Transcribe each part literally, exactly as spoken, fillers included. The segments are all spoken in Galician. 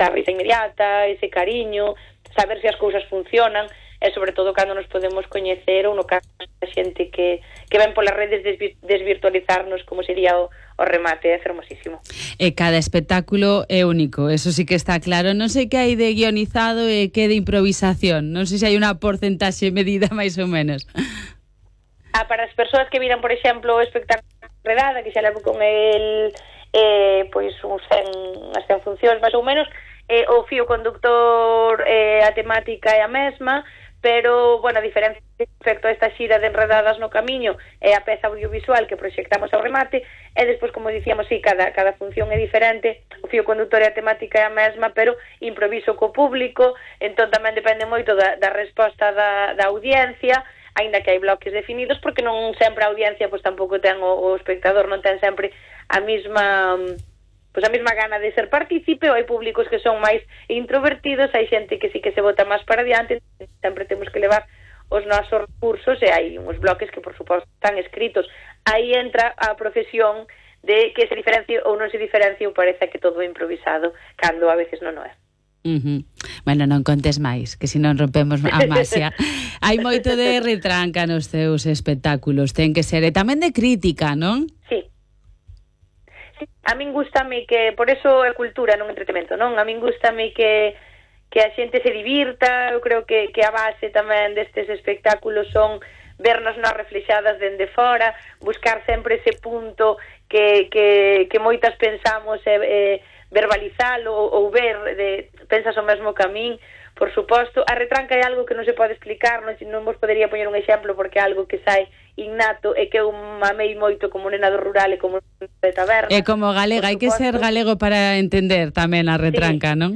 esa risa inmediata, ese cariño, saber se as cousas funcionan, e sobre todo cando nos podemos coñecer ou no caso da xente que, que ven polas redes desvi, desvirtualizarnos, como sería o, o remate, é fermosísimo. E cada espectáculo é único, eso sí que está claro. Non sei que hai de guionizado e que de improvisación, non sei se hai unha porcentaxe medida máis ou menos. Ah, para as persoas que viran, por exemplo, o espectáculo Redada, que xa levo con el eh, pois uns cen, as cen funcións máis ou menos, eh, o fío conductor, eh, a temática é a mesma, pero, bueno, a diferencia respecto a esta xira de Enredadas no Camiño é a peza audiovisual que proxectamos ao remate, e despois, como dicíamos, sí, cada, cada función é diferente, o fío conductor e a temática é a mesma, pero improviso co público, entón tamén depende moito da, da resposta da, da audiencia, aínda que hai bloques definidos, porque non sempre a audiencia, pois tampouco ten o, o espectador, non ten sempre a mesma... pois a mesma gana de ser partícipe, ou hai públicos que son máis introvertidos, hai xente que sí que se bota máis para adiante, sempre temos que levar os nosos recursos, e hai uns bloques que, por suposto, están escritos. Aí entra a profesión de que se diferencie ou non se diferencie, ou parece que todo é improvisado, cando a veces non o é. Uh-huh. Bueno, non contes máis, que se non rompemos a masia. Hai moito de retranca nos teus espectáculos, ten que ser, e tamén de crítica, non? Sí. A min gustame que, por eso é cultura, non entretemento, non? A min gustame que, que a xente se divirta, eu creo que, que a base tamén destes espectáculos son vernos nas reflexadas dende fora, buscar sempre ese punto que, que, que moitas pensamos e, e verbalizalo ou, ou ver, de, pensas o mesmo que a min. Por suposto, a retranca é algo que non se pode explicar, non, non vos podería poñer un exemplo porque é algo que sai innato e que eu mamei moito como nena do rural e como de taberna. E como galega, hai que ser galego para entender tamén a retranca, sí. Non?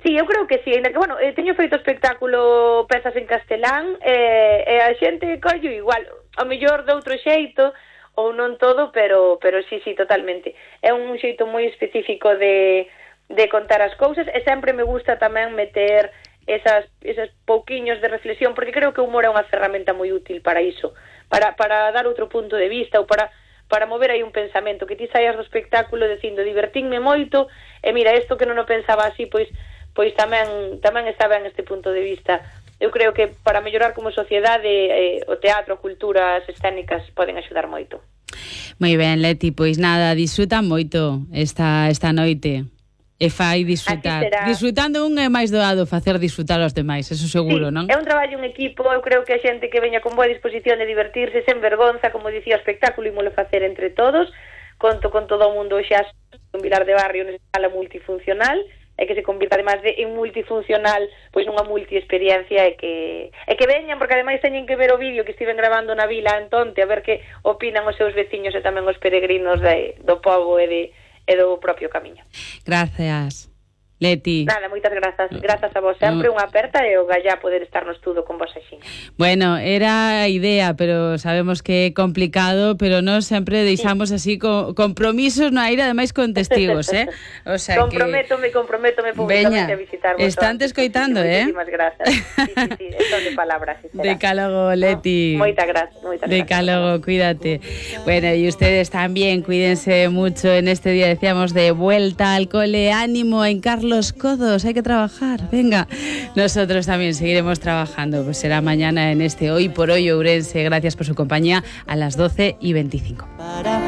Sí, eu creo que sí, ainda que, bueno, eh, teño feito espectáculo pezas en castelán e, e a xente collo igual, ao mellor de outro xeito ou non todo, pero, pero sí, sí, totalmente. É un xeito moi específico de... de contar as cousas, e sempre me gusta tamén meter esas, esas pouquiños de reflexión, porque creo que o humor é unha ferramenta moi útil para iso, para, para dar outro punto de vista, ou para, para mover aí un pensamento, que ti saias do espectáculo dicindo, divertínme moito, e mira, isto que non o pensaba así, pois, pois tamén, tamén está ben este punto de vista. Eu creo que para mellorar como sociedade, eh, o teatro, a cultura, as escénicas poden axudar moito. Moi ben, Leti, pois nada, disfruta moito esta, esta noite. E fai disfrutar. Disfrutando un é máis doado facer disfrutar aos demais, eso seguro, sí, non? É un traballo en equipo, eu creo que a xente que veña con boa disposición de divertirse, sen vergonza, como dicía o espectáculo, ímolo facer entre todos, conto con todo o mundo xa un Vilar de Barrio nesa sala multifuncional, e que se convirta además de en multifuncional, pois nunha multiexperiencia, e que e que veñan, porque ademais teñen que ver o vídeo que estiven grabando na vila en Tonte, a ver que opinan os seus veciños e tamén os peregrinos de, do pobo e de e do propio camiño. Gracias, Leti. Nada, moitas grazas. Grazas a vos sempre, unha aperta e o gallá poder estar no estudo con vos axiña. Bueno, era a idea, pero sabemos que é complicado, pero nós sempre deixamos sí. así co compromisos no aire, ademais con testigos, eh? O sea comprométome, que... comprométome públicamente a visitar vos. Están te escoitando, eh? Moitísimas grazas. Sí, sí, sí, eso de palabras. Si Decálogo, Leti. No, moitas grazas, moitas grazas. Decálogo, cuídate. Bueno, y ustedes también, cuídense mucho en este día, decíamos, de vuelta al cole. Ánimo, en Carlos Codos, hay que trabajar, venga. Nosotros también seguiremos trabajando, pues será mañana en este Hoy por Hoy Ourense. Gracias por su compañía a las doce y veinticinco.